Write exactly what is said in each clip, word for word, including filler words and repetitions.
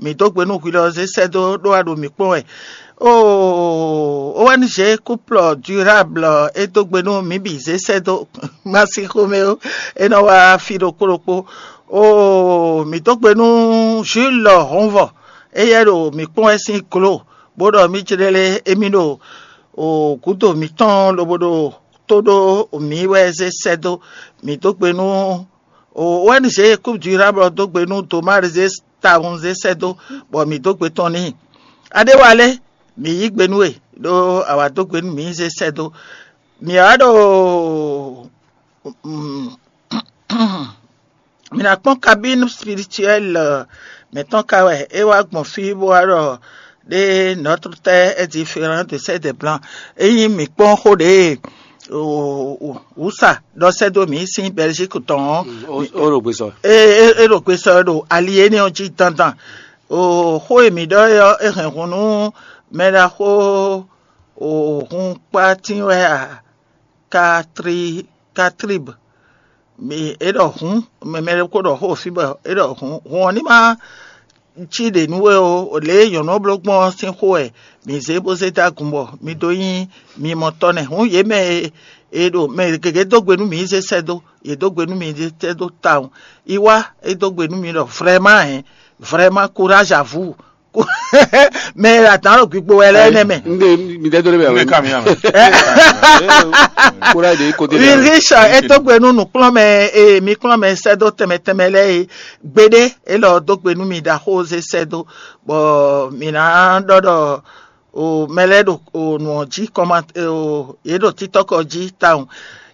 mǐ dó gbe nú hwi lɔ zé sɛ́ dó ɖó wá ɖo mǐ kpɔ́n wɛ. Oo, O N G Couple Durable é dó gbe nú mǐ bǐ zé sɛ́ dó. Má sí xomɛ ó, é nɔ wá fí ɖokpó ɖokpó. Oo, mǐ dó gbe nú Jules Hɔnvɔ, éyɛ́ ɖo mǐ kpɔ́n wɛ sín glo, bó ɖɔ mǐ jlé lé émí ɖo gǔdo mǐtɔn lobo ɖo tó ɖó mǐ wɛ zé sɛ́ dó. Mǐ dó gbe nú O N G Coupe Durable dó gbe nú Domar zé tawun zé sɛ́ dó, bɔ mǐ dó gbe tɔn n'i. Adéwálé, mǐ yí gbe nú we, ɖó a wǎ dó gbe nú mǐ zé sɛ́ dó. Mǐ wá ɖo mǐ ná kpɔ́n kabínu spirituɛl mǐtɔn ka wɛ é wá gbɔn fí bó wá ɖɔ ɖé, notre terre est différente de celle des blancs. Ényí mǐ kpɔ́n xó ɖě wǔsa ɖɔ sɛ́ dó mǐ sín Belgique tɔn ɔ́, ó ɖo gbe sɔ. É ɖo gbe sɔ ɖo ali énɛ́ ɔ́ jí dandan. Xó e mǐ ɖɔ é ɔ́, é hɛn hun nú mɛ ɖaxó hun kpátín wɛ a? Katrib, é ɖɔ hun, mɛ ɖokpó ɖɔ xó fí bɔ é ɖɔ hun, hun ɔ́ ní ma cí ɖě nú we ó. Lě e nyɔ̌nu ɔ́ bló gbɔn ɔ́ sín xó wɛ mǐ zé bó zé dó agun bɔ mi dó nyí mimɔtɔ́ nɛ́. Hǔn yě mɛ e ɖo mɛ gěgé dó gbe nú mǐ zé sɛ́ dó, yě dó gbe nú mǐ zé sɛ́ dó tawun. Yi wá, é dó gbe nú mi ɖɔ vrɛ́má hɛn, vrɛ́má kuráž avǔ. Mɛ e ɖo adǎn ɖo gbigbo wɛ lɛ́ɛ nɛ́ mɛ. Nde mi dɛ dó lé bɛ wɛ. Ka mi ame. Kura de kote de. Ulrich é dó gbe nú nǔkplɔ́nmɛ e mi kplɔ́n mɛ sɛ́ dó tɛnmɛ tɛnmɛ lɛ́ɛ é. Gbeɖé é lɔ dó gbe nú mi ɖo axóze sɛ́ dó, bɔ mǐ ná ɖɔ ɖɔ o mɛ lɛ́ɛ ɖo o nǔ ɔ́ jí kɔma o yě ɖo títɔ́kɔ jí tawun.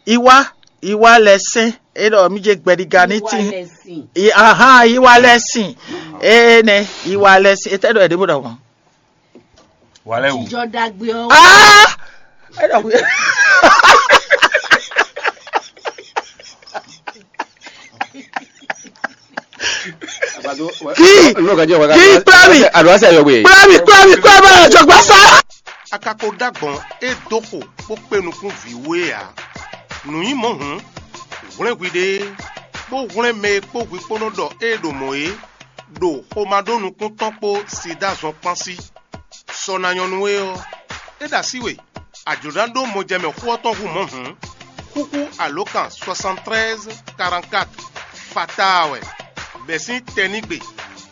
Iwá iwá lɛ́ sɛ́n é ɖɔ mí jɛ gbɛɖiga ní tín. Ahan iwá lɛ́ sin. Énɛ́ iwá lɛ́ sin. Étɛ́ ɖɔ é ɖěvo ɖɔ gbɔn? Wàlẹ́ wù. Ìjọ dagbe ọ. Ah! É ɖɔ wí. Kí N'o ka jẹ́ wá Kí kpla mi. Àdúrà sí ayọ̀gbé. Kpla mi kpla mi kpla mi jọ̀gbọ́n sá. Akako ɖagbɔn e dó xo bó kpé nukún vǐ wú é ǎ. Nǔ nyí mɔ̌ hǔn, hwlɛ́n hwiɖée, bó hwlɛ́n mɛ e kpó hwi kpó nɔ ɖɔ ée ɖo mɔ̌ é, ɖo xomado-nukúntɔn kpó Sidáa zɔn kpán sí. Sɔ ná nyɔ́ nú we ɔ́, é ɖo así we, a jlǒ ná ɖó mɔjɛmɛ xó ɔ́ tɔn hú mɔ̌ hǔn, xúxú alǒkan soixante treize quarante-quatre fataa wɛ, bɛ̌ sín tɛnígbe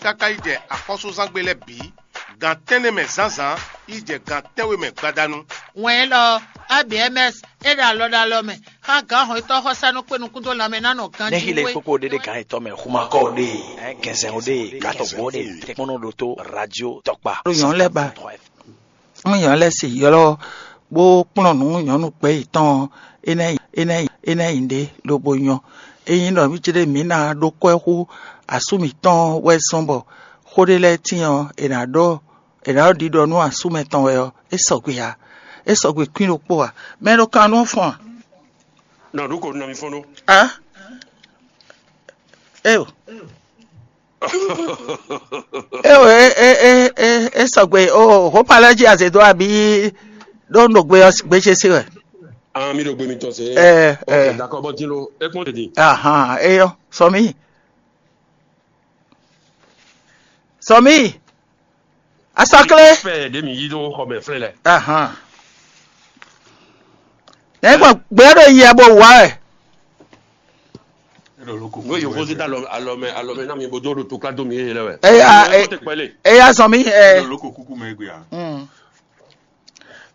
káká yi jɛ axɔ́súzángbe lɛ́ɛ bǐ, gan tɛ́nnɛ mɛ zǎnzǎn yi jɛ gan tɛ́nwe mɛ gbadanu. Wɛn élɔ́, A B M S, é ɖo alɔ ɖo alɔ mɛ, xá gǎn hɔn yětɔn xɔsánú kpé nukún dó lanmɛ ná nɔ ganjí Nexi le wé. kpokpo ɖe ɖe gan etɔ́ mɛ xuma kɔ ɖe, ɛ gɛnzɛn o ɖe, gatɔ gbɔ ɖe, tɛkpɔnɔ ɖo to radio tɔkpa. Ɖo nyɔ̌nu lɛ́ɛ ba. Mú nyɔ̌nu lɛ́ɛ se ylɔ́ bó kplɔ́n nǔ nyɔ̌nu gbɛ̌ yětɔn ɔ́, é ná yi é ná yi é ná yi ɖě lobo nyɔ́. Ényí ɖɔ mí céɖé mǐ ná ɖó kwɛ́ hú asú mǐtɔn wɛ zɔ́n bɔ xó ɖé lɛ́ɛ tíin ɔ́, è nǎ ɖɔ è nǎ ɖɔ ɖiɖɔ nú asú mɛtɔn wɛ ɔ́, é sɔgbe ǎ. É sɔgbe kwín ɖokpó ǎ. Mɛ e ɖo kan nú ɔ́ fɔ́n a? Nɔ ɖu ko nɔ mi fɔ́n ɖó. Á? Éo. Éo é é é é é sɔgbe o hopalɛ jí azě dó abí ɖó un ɖo gbe ɔ́ gbe ce se wɛ. Ah, mi ɖo gbe mi tɔn se. Ɛ Ok, ɛ. D'accord, bɔ din lo, e kpɔn tete. Ahan, eyɔ, sɔmi. Sɔmi. Asakle. Fɛ de mi yi do xɔ mɛ flɛ lɛ. Ahan. Ne gbɔ gbɛ ɖo yia bo wa wɛ. Ngo yo fosi da alɔ alɔ mɛ alɔ mɛ na mi bo do do tukla do mi ye lɛ wɛ. Eya, Ko te kpɛle. Eya sɔmi ɛ. Loko kuku mɛ gbe a. Mm.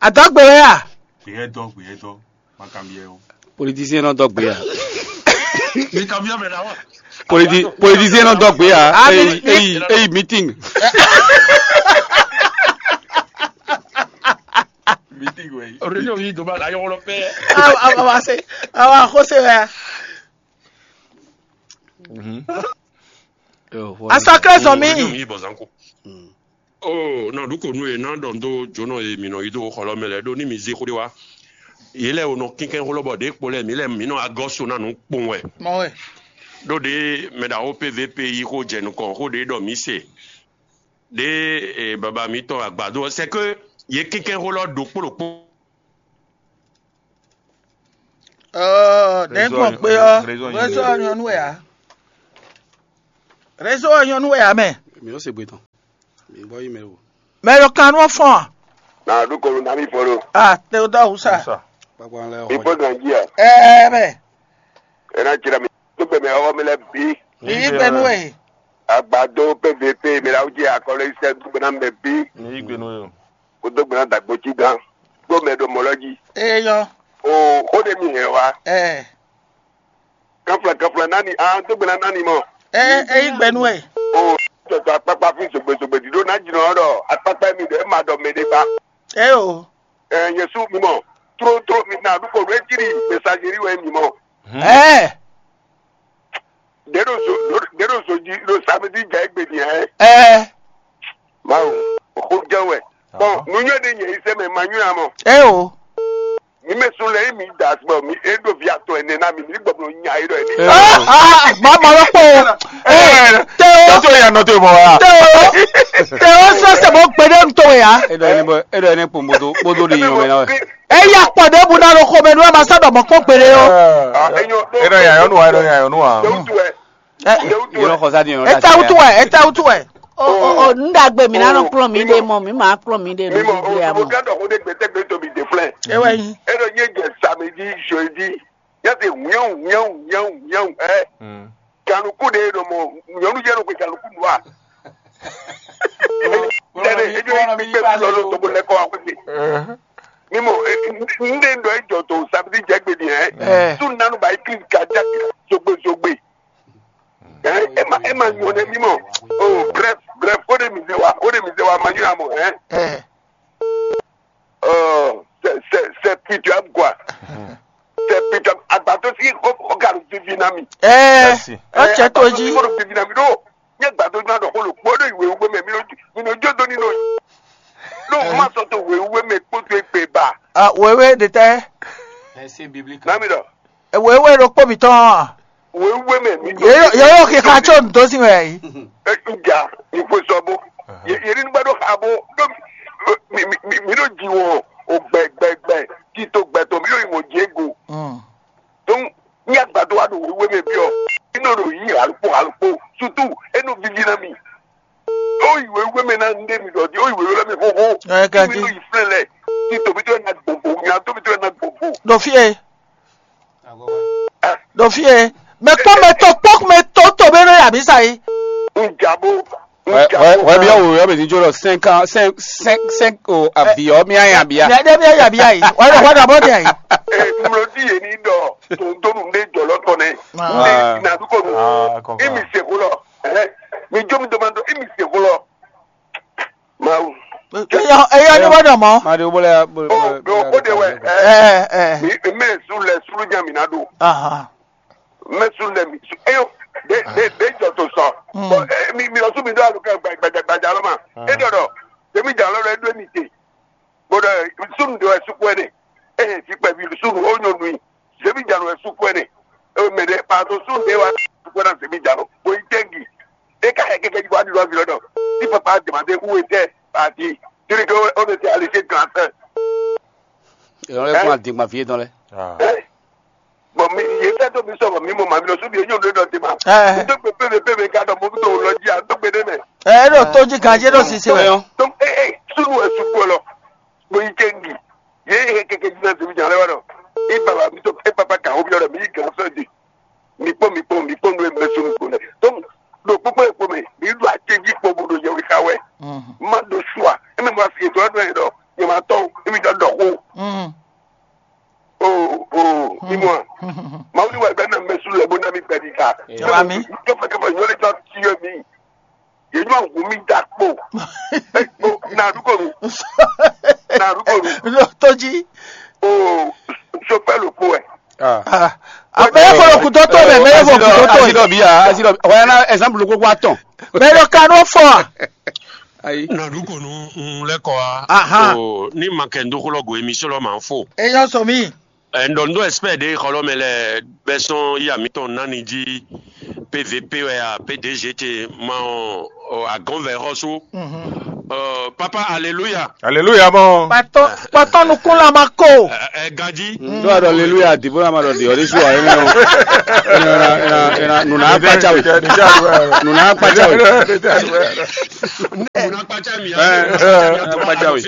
Adɔgbe wɛ ya. Gbeyɛ dɔ gbeyɛ dɔ. Makanbiɛ o. Politicien nɔ dɔ gbe ya. Mi kanbiɛ mɛ na wa. Politi- Politicien nɔ dɔ gbe ya. Ah, Eyi mi- eyi eyi meeting. Meeting wɛ. Réunion yi do ba la yɔrɔ pɛ. Awa awa se awa xose wɛ ya. Asakle sɔmi. Réunion yi bɔ zanko. Oh, nɔ ɖu ko nu ye na ɖɔ do jonɔ ye mi nɔ yi do xɔlɔ mɛ lɛ ɖo ni mi zi xo de wa. Ye lɛ o nɔ kinkɛn xolɔ bɔ ɖe kpo lɛ mi lɛ mi nɔ agɔ so na nu kpɔn wɛ. Mɔ wɛ. Ɖo ɖe mɛ ɖawo P V P yi xo jɛ nukɔn xo ɖe ɖɔ mi se. Ɖe e baba mi tɔn agbado c'est que ye kinkɛn xolɔ ɖo kpo ɖo kpo. Ɔɔ ne gbɔn gbe ɔ. Réseau nyɔnu wɛ ya. Réseau nyɔnu wɛ ya mɛ. Mi ò se gbe tán. Mi bɔ yi mɛ o. Mɛ ɖo kan nú fɔn a? Na ɖu kɔnu na mi fɔ ɖo. Ah, te o da wusa. Kpakpa lɛ Mi xɔ. Fɔ gan ji a? Ɛɛ mɛ. E na jira mi. To gbɛ mɛ ɔwɔ mi lɛ bi. Yi gbɛ nú ɛ. Agbado P V P mi la wúji akɔlɔ yi sɛ dugbe na mɛ bi. Mi yi gbɛ nú ɛ. Ko dugbe na dagbo ci gan. Gbɔ mɛ ɖo mɔ lɔ ji. Eyɔ. O o de mi hɛn wa. Ɛ. Kanfla kanfla nani a dugbe na nani mɔ. Ɛ eyi gbɛ nú ɛ. O tɔtɔ akpakpa fi zogbe zogbe diɖo na jinɔ ɖɔ akpakpa mi ɖɔ e ma ɖɔ mɛ ɖe ba. Ɛ o. Ɛ Yesu mi mɔ. Tró tró mi na ɖu ko ɖu e jiri message ri wɛ mi mɔ. Ɛ. Ɖe ɖo zo ɖe ɖo zo ji ɖo samedi jɛ egbe ni ɛ. Ɛ. Mawu, o jɛ wɛ. Bɔn nu nyɔ ɖe nyɛ yi sɛ mɛ ma nyɔ amɔ. Ɛ o. Mi mɛ sun lɛ yi mi da bɔ mi e ɖo vi atɔ ɛnɛ na mi mi gbɔ blo nya yi ɖɔ ɛnɛ. Ɛ. Ah, ah, mama lɔ kpɔ. Ɛ, te o. Tɔtɔ ya nɔ te mɔ wa. Te o. Te o sɔ sɛ mɔ gbede ntɔ ya. E ɖɔ ɛnɛ bɔ e ɖɔ ɛnɛ kpo moto kpoto ɖe nyɔ mɛ na wɛ. Eya kpɔ ɖe bu na ɖo xɔmɛ nú ama sá ɖɔ mɔ kpɔn gbede o. Ah, enyo. E ɖɔ ya yɔnu wa, e ɖɔ ya yɔnu wa. Dewutu wɛ. Ɛ, Dewutu yɔnu wɛ. Xɔ sa di yɔnu. Eta wutu wɛ, eta wutu wɛ. O o o, n ɖagbe mi na nɔ kplɔn mi ɖe mɔ mi ma kplɔn mi ɖe mi nɔ mo gbígbé ya mɔ. Gán ɖɔ xó ɖé gbɛtɛgbɛ tó mi dé flɛ́. Ewɛ nyi. E ɖɔ nyɛ jɛ samedi, jeudi. Nyɛ se wíyɛn wíyɛn wíyɛn wíyɛn ɛ. Ganuku ɖe ɖɔ mɔ nyɔnu jɛ ɖo gbe ganuku nua. Tɛnɛ edzo yi kpikpe lɔ lɔ tɔgbɔ lɛ kɔ wa kpekpe. Ni mo n ɖe ɖɔ ejɔ to samedi jɛ gbe ni ɛ. Ɛ. Su nanu ba yi kiri gaja zogbe zogbe. Ɛ ema ema nyɔ ne mi mɔ. Oh bref bref o de mi se wa o de mi se wa ma nyɔ amɔ ɛ. Ɛ. Oh c'est c'est c'est pitoyable quoi. C'est pitoyable. Agbato si o o galu vivi na mi. Ɛ. Ɛ, ɔtsɛ to ji. Ko do vivi na mi do. Nye gbado na do ko lo kpo do iwe ugbe me mi no mi no jo do ni no. No ma so to we ugbe me kpo to egbe ba. Ah, wewe de tɛ. Verset biblique. Na mi do. Wewe ɖokpó mǐtɔn a? Wěwé mɛ mi ɖo. Yeyɔ xixa tso nǔdó sin wɛ yi. Etuga ìfosɔbo. Yeri nígbà ɖo xa bó ɖó mi mi mi mi ɖo ji wɔ o gbɛ gbɛ gbɛ tito gbɛ tɔn mi ɖo yi wɔ jɛ go. Donc ní agbadɔ wa ɖo wěwé mɛ bi ɔ inɔ ɖo yi alukpo alukpo surtout enu vivi na mi. Ó yi wěwé mɛ na ndé mi ɖɔ di ó yi wěwé mɛ xoxo. Ɛ, kí mi ɖo yi flɛ lɛ tito mi tó yɛ na gbogbo nya tó mi tó yɛ na gbogbo. Ɖo fie. Ɖo fie. Mɛ kpɔ́n mɛ tɔn kpɔ́n mɛ tɔn tɔn bɛ nɔ yà mí sa yi. Njabo. Wɛ wɛ wɛ bí ɔwɔ yɔ bɛ ní jó lɔ cinq ans cinq cinq cinq o aviɔ mi aya bia. Mɛ ɖe mi aya bia yi. Wɛ lɔ wɛ ɖɔ bɔ de yi. Mlɔdi yɛ ni dɔ tòǹtòǹ ɖe jɔlɔ tɔ nɛ. Nde na dukɔ nu. Imi se ko lɔ. Mi jó mi dɔ ma dɔ imi se ko lɔ. Mawu. Eyɔ eyɔ ni wɛ dɔ mɔ. Ma de wobɔ lɛ ya bolo. O o o de wɛ. Ɛ ɛ. Mi mɛ su lɛ sulu nya mi na do. Aha. Mɛ su lɛ mi su eyɔ de de de jɔ to sɔ. Bɔn mi mi lɔ su mi do alu kɛ gbadza gbadza lɔ ma. E dɔ dɔ. Temi dza lɔ lɛ do mi te. Bɔn dɔ sunu de wɛ suku ɛnɛ. Eye fi kpɛvi sunu o nyɔ nui. Zebi jalo wɛ suku ɛnɛ. Mɛ ɖe pardon sunu de wa suku ɛnɛ zebi jalo. Bo yi tɛngi. E ka hɛ kɛkɛ ji bɔ adi lɔ vi lɔ dɔ. Si papa demande où était parti. Tiri ke o de te alise grand frère. Ìrọ̀lẹ́ fún àdìgbà fi tán lẹ. Bɔn mi yé fẹ́ tó mi sọ̀rọ̀ mi mo ma mi lọ súbi eyín òde dọ̀ tèmá. Mi tó gbé pépé pépé ká dọ̀ mo fi tó lọ jí a tó gbé dé mẹ́. Ɛ ɖo tó jí ganjí ɖo sisi wɛ. Donc e e sunu wɛ suku lɔ. Mo yi tɛngi. Ye he keke jina tèmi jan lɛ wa dɔ. E baba mi to e papa ka ho bi dɔ mi yi gan fɛ di. Mi kpɔ mi kpɔ mi kpɔ nu e mɛ sunu kpɔ lɛ. Donc ɖo kpokpo e kpɔ mɛ mi ɖo atɛji kpɔ bo ɖo yɛ wika wɛ. Ma ɖo sua e mɛ mo asi etɔ dɔ yɛ dɔ yɛ ma tɔ e mi dɔ dɔ ko. O o imua. Mawu ni wa gbɛ na mɛ sunu lɛ bo na mi gbɛ di ka. Wa mi. Kɛfɛ kɛfɛ nyɔ le tɔ ti yɔ mi. Yeyɔ ŋu mi da kpo. Na ɖu kɔnu. Na ɖu kɔnu. Lo to ji. O sopɛ lo kpo wɛ. Abe ye fɔlɔ kutɔ to mɛ mɛ ye fɔ kutɔ to. Asi dɔ bi ya asi dɔ bi wɛ na exemple koko atɔn. Mɛ dɔ ka n'o fɔ. Ayi. Na ɖu kɔnu n lɛ kɔ wa. Aha. Ni ma kɛ n do xlɔ go émission lɔ ma n fo. Eyɔ sɔ mi. Ɛ, n ɖɔ n ɖó ɛspɛ́ɛ ɖě xɔlɔ́mɛ lɛ́ɛ bɛ́ sɔ́n yí amǐtɔn ná ni jí P V P wɛ a, P D G ce ma ɔ́, ɔ, agɔ̌nvɛ̌ xɔ́sú. Papa, aleluya. Aleluya mɔ. Kpɔtɔ nukún la ma ko. Ɛ, ɛ, ganji. Ɖó aɖɔ aleluya dìbò la ma ɖɔ dìyɔ ɖésú wa. Ɛnɛ ɛnɛ ɛnɛ ɛnɛ nuna akpatsa we. Nuna akpatsa we. Nuna akpatsa mi. Akpatsa we.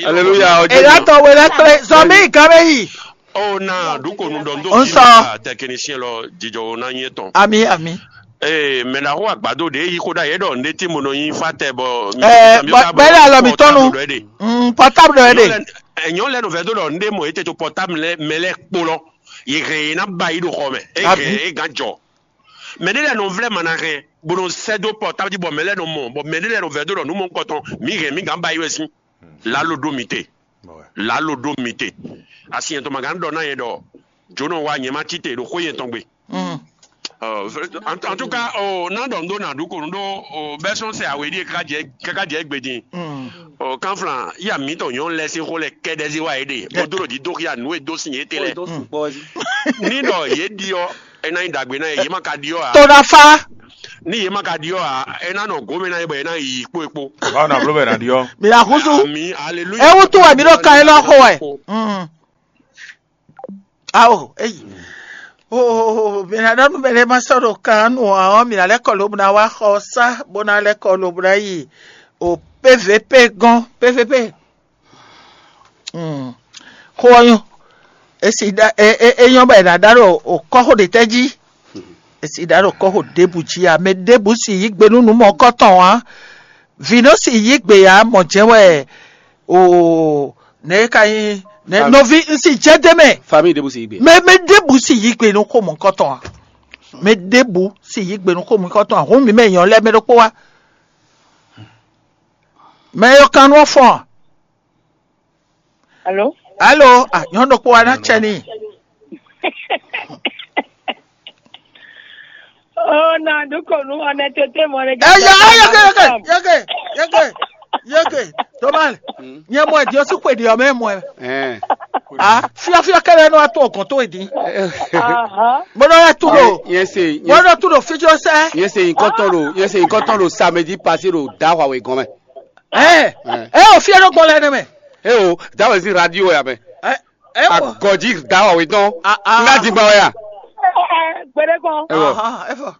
Aleluya. Èyí atɔ wele kple zɔmi gabe yi. O na ɖu ko nu ɖɔ ndo. Nsɔ. Tɛkinisiyɛn lɔ jijɔ o na nyɛ tɔn. Ami ami. Ee, mɛ na xo agbado ɖe yi xo ɖa yɛ ɖɔ nde ti mo nɔ nyi fa tɛ bɔ. Ɛɛ bɛlɛ alɔ mi tɔnu. Mm, portable ɖɔ yɛ ɖe. Ɛnyɔ lɛ nɔ vɛ do ɖɔ nde mɔ ete to portable lɛ mɛ lɛ kpo lɔ. Yi hɛn yi na ba yi ɖo xɔ mɛ. E hɛn e gan jɔ. Mɛ ɖe lɛ nɔ vlɛ ma na hɛn bo nɔ sɛ do portable ji bɔ mɛ lɛ nɔ mɔ bɔ mɛ ɖe lɛ nɔ vɛ do ɖɔ nu mɔ kɔtɔn mi hɛn mi gan ba yi wɛ sin. Lalo ɖo mi te. Lalo ɖo mi te. Asi yɛn tɔn ma gan ɖɔ na yɛ ɖɔ jonɔ wa nyɛ ma ci te ɖo xó yɛn tɔn gbe. En tout cas, o na ɖɔ ndo na ɖu ko ndo o bɛ sɔn sɛ awe ɖie kaka jɛ kaka jɛ gbe din. O kanflan ya mi tɔn nyɔ lɛ sin xó lɛ kɛɖɛ zi wa yɛ ɖe mo do ɖo di do xia nu e do sin yɛ te lɛ. Ni ɖɔ yɛ ɖi ɔ e na nyi dagbe na yɛ yɛ ma ka ɖi ɔ a. Tonafa. Ni yɛ ma ka ɖi ɔ a e na nɔ gome na yɛ bɔ yɛ na yi kpo e kpo. Báwo na blo bɛ na ɖi ɔ. Mi la husu. Mi aleluya. Ewu tu wɛ mi ɖo kan e lɔ xo wɛ. Ao eyi. Mǐ ná ɖɔ nú mɛ ɖé ma sɔ́ ɖo kan nú ǎ ɔ́, mǐ ná lɛ́ kɔ lobo ná wá xɔ sá, bó ná lɛ́ kɔ lobo ná yi o P V P gɔ́n, P V P. Xó ɔ́ nyɔ́. É si ɖa é é é nyɔ́ bɔ è nǎ ɖá ɖo o kɔ́xo ɖě tɛ́ jí? È si ɖa ɖo kɔ́xo ɖěbǔ jí ǎ. Mɛ ɖěbǔ si yí gbe nú nǔ mɔ̌kɔtɔn ǎ. Vǐ nɔ si yí gbe ǎ, mɔ̌ jɛ́n wɛ o nɛ̌ é ka nyí nɛ̌ nɔví un si jɛ d'é mɛ. Famille ɖěbǔ si yí gbe. Mɛ mɛ ɖěbǔ si yí gbe nú xó mɔ̌kɔtɔn ǎ. Mɛ ɖěbǔ si yí gbe nú xó mɔ̌kɔtɔn ǎ. Hǔn mǐ mɛ nyɔ̌ lɛ́ɛ mɛ ɖokpó wá. Mɛ yɔkannú ɔ́ fɔ́n ǎ. Alo? Alo, ah, nyɔ̌nu ɖokpó wá ná cɛ n'i. Oh, na ɖu ko nú ɔnɛ tete mɔ ɖe. Ɛ ya, ɛ yeke, yeke, yeke, yeke, yeke, Thomas, nyɛ mɔ ɛ diɔ sí xwe ɖi ɔ mɛ mɔ ɛ. Ɛn. Ah, fiafia kɛlɛ nɔ ato ɔgɔn to edi. Aha. Mo nɔ ya tu ɖo. Yɛn se, mo nɔ tu ɖo fijɔ sɛ. Yɛn se nyikɔtɔn ɖo, yɛn se nyikɔtɔn ɖo samedi passé ɖo da xɔ awe gɔn mɛ. Ɛ, ɛ, o fiɛ ɖo gbɔ lɛ ne mɛ. E o, da wɛ si radio ya mɛ. Ɛ, ɛ, o. Agɔji da wɛ tɔn. Ah, ah. Nga di gba wɛ ya. Gbede kɔn. Ewɔ. Aha, efɔ.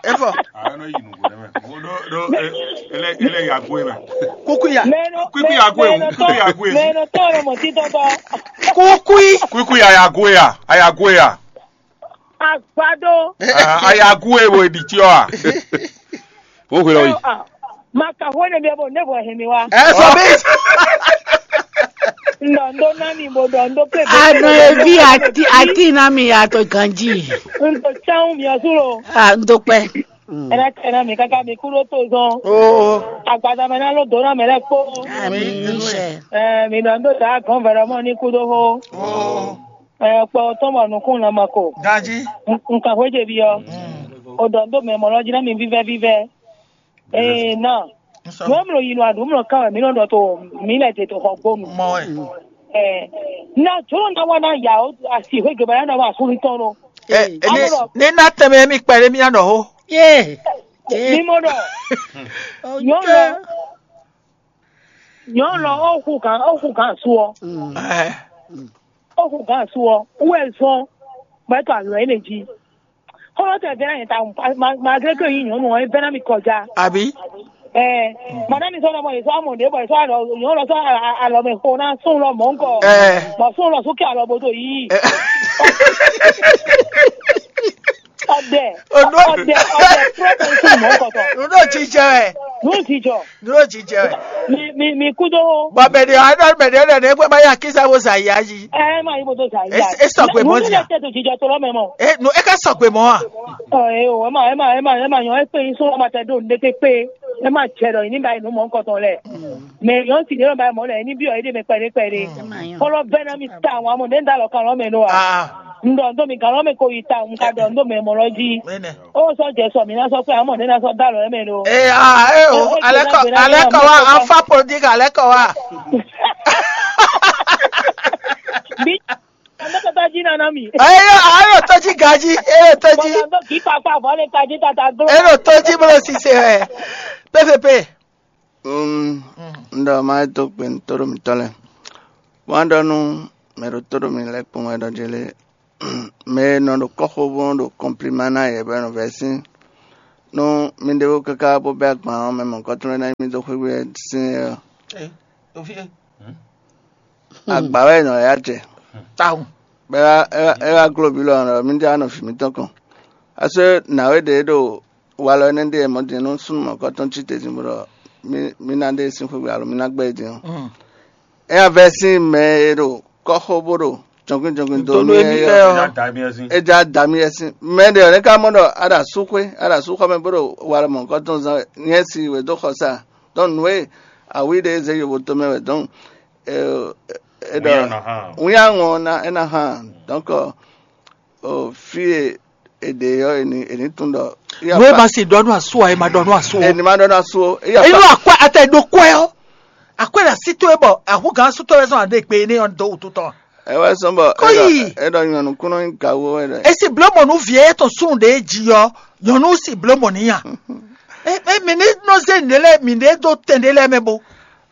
Efɔ. Ano yi nugo ne mɛ. Mo do do ele ele ya go mɛ. Kukuya. Kuku ya go e, kuku ya go e. Mɛ no tɔn lɔ mɔ titɔ tɔ. Kukui. Kuku ya ya go ya, a ya go ya. Agbado. Ah, a ya go e wo di ti o a. Wo hwe lɔ yi. Ma ka hwene bia bo ne bo hɛn mi wá. Ɛ sɔ mi. Ndɔ ndo na mi bo dɔ ndo pe. Anɔ evi ati ati na mi ya to ganji. Ndo tsan mi ɔsu lo. Ah, ndo pɛ. Ɛnɛ tɛ na mi kaka mi kúrò tó zɔn. Oh. Agbada mɛ na ló dó na mɛ lɛ kpó. Ami sɛ. Ɛ mi dɔ ndo da gɔn vɛrɛ mɔ ní kúdó hó. Oh. Ɛ kpɔ tɔn bɔ nukún na ma ko. Ganji. Nkan hwé jɛ bi ɔ. O dɔ ndo mɛ mɔ lɔ jí na mi vívɛ vívɛ. Ee na. Nú mlɔ yi nɔ aɖu mlɔ kan wɛ mǐ nɔ ɖɔ to mǐ lɛ te to xɔ gbonu. Mɔ wɛ. Ɛ na jló na wa na ya o asi hwé gebe na wa asúnú tɔn nɔ. Ɛ ní ní ná tɛmɛ mi kpɛ ɖé mi anɔ ho. Ye. Ní mo ɖɔ nyɔnu lɔ nyɔnu lɔ ó hu kan ó hu kan su ɔ. Ɛ ó hu kan su ɔ wú ɛ zɔn bɔ ɛ to alɔ ɛ lɛ jí. Xɔlɔtɔ ɛ vɛ́ ná nyɛ ta malgré que yi nyɔnu ɔ é vɛ́ ná mi kɔjá. Àbí? Ɛ madame sɔ lɔmɔ yesɔ amɔ ɖe bɔ yesɔ alɔ nyɔnu lɔ sɔ alɔ mɛ xo ná sún lɔ mɔ ŋkɔ. Ɛ bɔ sún lɔ sún kɛ alɔ bodo yi. Ɔdɛ ɔdɛ ɔdɛ trɔ tɛ sún mɔ ŋkɔ tɔ. Nú ɖo jijɛ wɛ. Nú jijɔ. Nú ɖo jijɛ wɛ. Mi mi mi kúdó. Bɔ mɛ ɖe ɔ́ ɖɔ mɛ ɖe ɔ́ ɖɔ ne gbɛ ma ya kísa wo zǎ yá yi. Ɛ ma yi bodo zǎ yá. E sɔgbe mɔ zia. Nú tɛ to jijɔ to lɔ mɛ mɔ. E nu e ka sɔgbe mɔ a. Ɔ e o ɛ ma ɛ ma ɛ ma ɛ ma nyɔ ɛ kpe yi sún ɔmɔ tɛ do ne kpe kpe ɛ ma jɛ ɖɔ yi ní ba yi nu mɔ ŋkɔtɔn lɛ. Mɛ yɔn si ne ba mɔ lɛ ní bi ɔ yi de mɛ kpɛɖe kpɛɖe. Kɔlɔ bɛ na mi ta wọn amɔ ne da lɔ kan lɔ mɛ no a. N dɔ n do mi kan lɔ mɛ ko yi ta n ka dɔ n do mɛ mɔ lɔ ji. Ó sɔ́ jɛ sɔ mǐ ná sɔ́ kpé amɔ ɖě ná sɔ́ dó alɔ mɛ ɖó. Ee aa ee o alɛkɔ alɛkɔ wa afa politique alɛkɔ wa. Bí ọmọ tata jí nana mi. Ee ayo tɔjí gají ee tɔjí. Bọ́lá ń bọ̀ kí pápá bọ́ọ̀lù tají tata gbó. Ee tɔjí bolo sise ɛ P V P. Un ɖɔ má yi dó gbe nú tóɖó mǐtɔn lɛ́ɛ. Wǎn ɖɔ nú mɛ ɖo tóɖó mǐ lɛ́ɛ kpɔ́n wɛ ɖɔ jɛ lé. Mɛ e nɔ ɖo kɔ́xo bó nɔ ɖo kɔnplima ná yɛ bɔ é nɔ vɛ́ sín nú mi ɖěvo káká bó bɛ́ agban ɔ́, mɛ mɔ̌kɔ́tɔn lɛ́ɛ ná nyí mì dó xwé wɛ sín é ɔ́, agba wɛ è nɔ ya jɛ. Tawun. Bɔ é wá gló bǐ lɔ ɔ́, mǐ jɛ wá nɔ vǐ mǐtɔn kɔn. Asú nǎwe ɖě ɖo walɔ énɛ́ ɖe mɔ̌ din nú súnnu mɔ̌kɔ́tɔn cí te din bó ɖɔ mí ná ɖe sín xwé gbe alo mí ná gbɛ́ é din ɔ́, é wá vɛ́ sín mɛ e ɖo kɔ́xo bó ɖo jɔnkwín jɔnkwín dó nú émí é ɔ́. É já da mì yɛ sín. Mɛ ɖě ɔ́, é ka mɔ ɖɔ a ɖo asúxwé, a ɖo asúxɔ mɛ bó ɖo walɔ mɔ̌kɔ́tɔn zán wɛ, nyɛ si wě dó xɔsa. Dɔn nǔ e awǐ ɖe zé yovo tomɛ wɛ dɔn. È ɖɔ wínyáŋɔ ná é ná hán. Dɔnkɔ fí e è ɖe ɔ́, è ní è ní tunwun ɖɔ nú e ma se ɖɔ nú asú ǎ, e ma ɖɔ nú asú o. È ní ma ɖɔ nú asú o. Eyi nú akwɛ ata e ɖo kwɛ ɔ́, akwɛ ɖo así towe bɔ ahúgán asú tɔn wɛ zɔn aɖe gbe énɛ́ ɔ́ dó wútu tɔn. Ɛ wɛ sɔn bɔ Kɔ́ yi. É ɖɔ nyɔ̌nu kúnɔ nyí gawo wɛ ɖɔ. Esi bló mɔ nú vǐ e tɔn súnnu ɖě jí ɔ́, nyɔ̌nu si bló mɔ n'i a? Mǐ ní nɔ zé nǔɖé lɛ́ɛ mǐ ɖě dó tɛn ɖé lɛ́ɛ mɛ bo.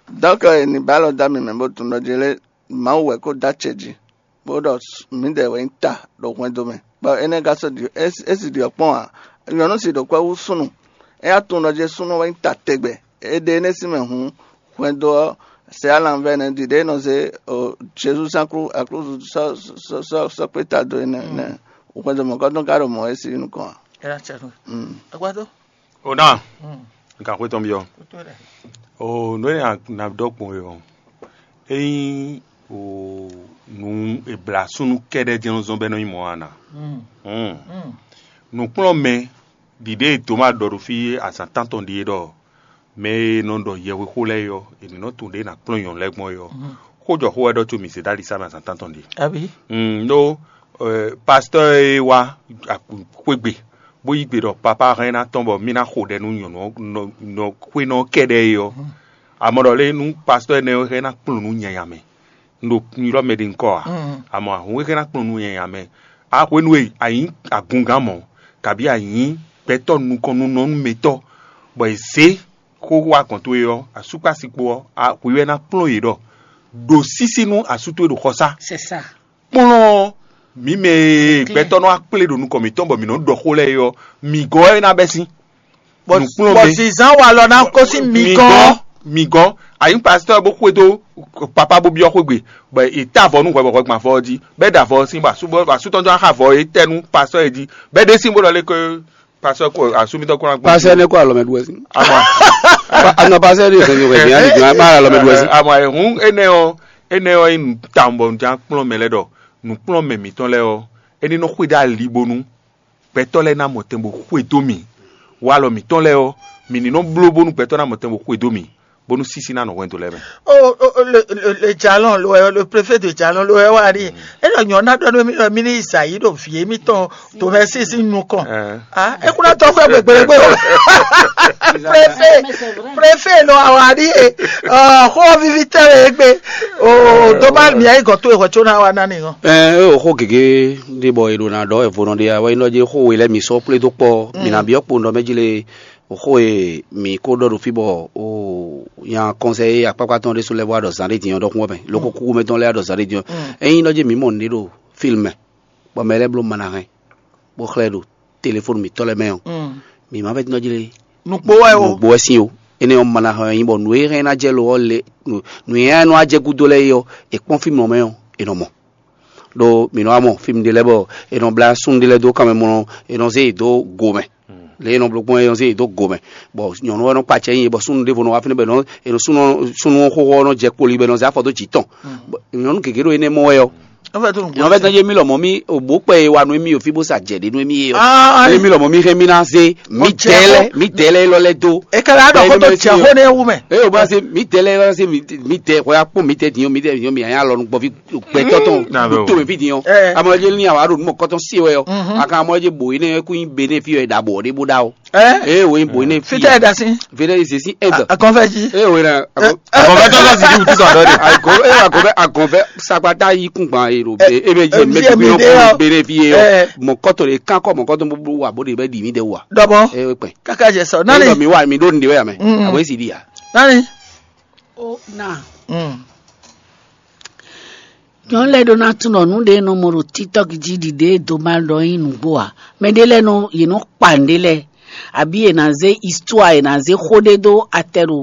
Dɔnkɔ è ní ba alɔ dó ami mɛ bó tunwun ɖɔ jɛ lé Mawu wɛ kó dó acɛ jí, bó ɖɔ mǐdɛɛ wɛ nyí ta ɖo hwɛndo mɛ, bɔ énɛ́ ka sɔ́ ɖi é si ɖi ɔ́ kpɔ́n ǎ. Nyɔ̌nu si ɖo kwɛ́ hú súnnu, é wá tunwun ɖɔ jɛ súnnu wɛ nyí ta tɛgbɛ. É ɖe énɛ́ sín mɛ hǔn, hwɛndo ɔ́, sɛ alanvɛ nɛ́ ɖiɖe e nɔ zé Jezu sín aklúzu sɔ́ kpé ta dó énɛ́ nɛ́. Hwɛndo mɔ̌kɔ́tɔn ka ɖo mɔ̌ é sí nukɔn ǎ. Ɛ ná cɛ nú. Mm. Agbádó. O ná, nka xwé tɔn byɔ́. O nǔ e a nǎ ɖɔ gbɔn é ɔ́, ényí o nǔ e blǎ súnnu kɛ́ɖɛ́ jɛ́n nɔ zɔ́n bɔ é nɔ nyí mɔ̌ a nǎ. Nǔkplɔ́nmɛ ɖiɖe e Toma ɖɔ ɖo fí azǎn tántɔn ɖíe ɖɔ mɛ e nɔ ɖɔ yɛhwexó lɛ́ɛ é ɔ́, è nǐ nɔ tunwun ɖě è nǎ kplɔ́n nyɔ̌nu lɛ́ɛ gbɔn é ɔ́, xó jɔ xó wɛ ɖɔ có mi zě ɖó ali sá mɛ azǎn tántɔn ɖíe. Abǐ. Mm, ɖó euh, pastɔ́ e wá xwégbe bó yí gbe ɖɔ papá hɛn ná tɔn bɔ mí ná xo ɖɛ nú nyɔ̌nu ɔ́ nɔ- nɔ- xwénɔ ɔ́ kɛɖɛ́ é ɔ́, amɔ ɖɔ lé nú pastɔ́ énɛ́ ɔ́ hɛn ná kplɔ́n nú nyanya mɛ. Un ɖo un ylɔ́ mɛ ɖé ŋkɔ ǎ, amɔ ahun e hɛn ná kplɔ́n nú nyanya mɛ. A hwenu e a nyǐ agungán mɔ̌, kabi a nyǐ gbɛtɔ́ nukɔn nú nɔnú mɛtɔ́, bɔ è zě xó wá gɔ̌n towe ɔ́, asú kpó asi kpó ɔ́, a- hwi wɛ ná kplɔ́n yě ɖɔ ɖo sísí nú asú towe ɖo xɔsá. C'est ça. Kplɔ́n mǐ mɛ e gbɛtɔ́ nɔ wá kplé ɖo nukɔn mǐtɔn bɔ mǐ nɔ ɖɔ xó lɛ́ɛ é ɔ́, mǐ gɔ́ wɛ é ná bɛ́ sín. Bɔ Nǔkplɔ́nmɛ. Bɔ zinzán walɔ ná kó sín mi gɔ́n. Mi gɔ́n, a nyǐ pastɔ́ bó xwedó papa bó byɔ́ xwé gbe, bɔ è tá avɔ nú hwɛ bɔ hwɛ gbɔn avɔ ɔ́ jí, bɔ é ɖo avɔ ɔ́ sín, bɔ asú bɔ asú tɔn jɔ xá avɔ é tɛ́ nú pastɔ́ é jí, bɔ é ɖésín bó ɖɔ lé ko pastɔ́ ko asú mitɔn kó ná gbɔn. Pasɛ ne kó alɔ mɛ ɖu wɛ sín. Ama Anɔ pasɛ ɖi hɛn mi hɛn mi ani jɔ ma alɔ mɛ ɖu wɛ sín. Ama ehun énɛ́ ɔ́, énɛ́ ɔ́ nyí nǔ tawun bɔ un ján kplɔ́n mɛ lɛ́ɛ ɖɔ nǔkplɔ́nmɛ mǐtɔn lɛ́ɛ ɔ́, é ní nɔ xwedó ali bónú gbɛtɔ́ lɛ́ɛ ná mɔ tɛn bó xwedó mì. Walɔ mǐtɔn lɛ́ɛ ɔ́, mǐ ní nɔ bló bónú gbɛtɔ́ ná mɔ tɛn bó xwedó mì, bónú sísí ná nɔ hwɛndo lɛ́ɛ mɛ. Oh, oh, oh, le, le, le jalon lo wɛ, le préfet de jalon lo wɛ wa ɖi. E ɖɔ nyɔ na ɖɔ nú mi ɖɔ mi ní Isayi ɖo vǐ émítɔn to mɛ sísí nukɔn. Ah, e kuna tɔ fɛ gbegbe gbe o. Préfet, préfet lo awa ɖi e. Oh, xo vivi tɛ le egbe. Oh, doma mi ayi gɔto e xɔ tso na wa na ni ŋɔ. Ɛ o xó gěgé ɖé bɔ è ɖo ná ɖɔ wɛ vo nɔ ɖe wɛ é nɔ jɛ xó we lɛ́ɛ mi sɔ́ kplé dó kpɔ mi ná byɔ́ kpo nɔ mɛ jí le. Xó e mǐ ko ɖɔ ɖo fí bɔ o nya kɔnsɛyi akpákpá tɔn ɖésú lɛ́ɛ wá ɖɔ zǎn ɖé din ɔ́ ɖɔkun wɛ mɛ, lóko kúkú mɛ tɔn lɛ́ɛ wá ɖɔ zǎn ɖé din ɔ́. Ényí nɔ jɛ mǐ mɔ nǔɖé ɖo fílm mɛ, bɔ mɛ lɛ́ɛ bló mana hɛn, bó xlɛ́ ɖo telefóni mǐtɔn lɛ́ɛ mɛ ɔ́, mǐ má vɛ́ tínɔ jlé Nukpó wɛ o. Nǔgbó wɛ sín o. Énɛ́ ɔ́ mana hɛn ɔ́ nyí bɔ nǔ e hɛn ná jɛ lo ɔ́ le nǔ e hɛn nɔ wá jɛ gúdo lɛ́ɛ é ɔ́, è kpɔ́n fímlɔ mɛ ɔ́, è nɔ mɔ. Ɖó mǐ nɔ wá mɔ fí ɖé lɛ́ɛ bɔ è nɔ blá súnnu ɖé lɛ́ɛ dó kanmɛ mlɔ, è nɔ zé yě dó go mɛ. Lě e è nɔ bló gbɔn é nɔ zé yě dó go mɛ, bɔ nyɔ̌nu ɔ́ nɔ kpa acɛ nyi yě, bɔ súnnu ɖěvo nɔ wá fínɛ́ bɔ è nɔ è nɔ súnnu súnnu xóxó ɔ́ nɔ jɛ kpoli bɔ è nɔ zé afɔ dó jǐ tɔn. Bɔ nyɔ̌nu gěgé ɖo énɛ́ mɔ wɛ ɔ́. Nyɔ̌nu vɛ́ tɔn jɛ mí lɔmɔ̌ mí òbó kpɛ e wa nú émí o fí bó sa jɛ ɖě nú émí é ɔ́. Émí lɔmɔ̌ mí hɛn mí ná zé mí dɛ́ lɛ́ɛ mí dɛ́ lɛ́ɛ élɔ́ lɛ́ɛ dó. É ka lɛ ɖɔ xó tó jɛ xó nɛ́ wú mɛ. Eye o bá se mí dɛ́ lɛ́ɛ élɔ́ se mí dɛ́ xɔ ya kpɔn mí dɛ dín o mí dɛ dín o mí anya lɔ nukpɔ fi gbɛtɔ tɔn. Tó mi fi dín o. Amɔ jɛ ní awa ɖo numɔ kɔtɔn si wɛ ɔ. Akan amɔ jɛ bo yi ne kú nyi be ne fi yɔ ɖa bɔ ɖe bo ɖa o. Ee wo nyi bo ne fi. Fitɛ da si. Vede ze si ɛdɔ. Akɔnfɛ ji. Ee wo na. Akɔnfɛ tɔ sɔ si di wutu sɔ dɔ de. Akɔnfɛ akɔnfɛ akɔnfɛ sakpata yi kun gban yi ɖo be ebe jɛ mɛ bi yɔ be ne fi ye yɔ. Mɔ kɔtɔ de kan kɔ mɔ kɔtɔ bo wa bo de bɛ di mi de wa. Dɔbɔ. Ee kpɛ. Kaka jɛ sɔ. Nani. Mi wa mi ɖo nin de wɛ ya mɛ. Abo esi di ya. Nani? Ó na. Mm. Nyɔ̌nu lɛ́ɛ ɖó ná tunwun ɖɔ nǔ ɖé nɔ mɔ ɖo TikTok jí ɖi ɖě do ma ɖɔ nyí nǔgbó ǎ. Mɛɖé lɛ́ɛ nɔ yě nɔ kpa nǔɖé lɛ́ɛ, abǐ yě ná zé histoire, yě ná zé xó ɖé dó atɛ ɖo